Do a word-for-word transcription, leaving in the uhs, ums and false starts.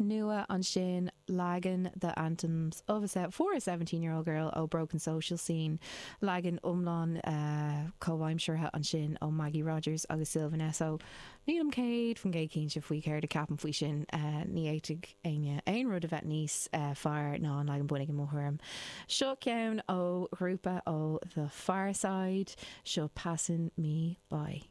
nua ansin leagan the Anthems of a for a seventeen year old girl ó Broken Social Scene leagan iomlán uh, comhaimseartha ansin ó Maggie Rogers agus Sylvan Esso. Nílim céad faoin gcéad cinnte faoi céard a ceapaim faoi sin uh, ní fhéadfadh éinne aon rud a bheith níos uh, fearr ná an leagan bunaidh i mo thuairim. Seo ceann ó ghrúpa ó The Pharcyde seo Passing Me By.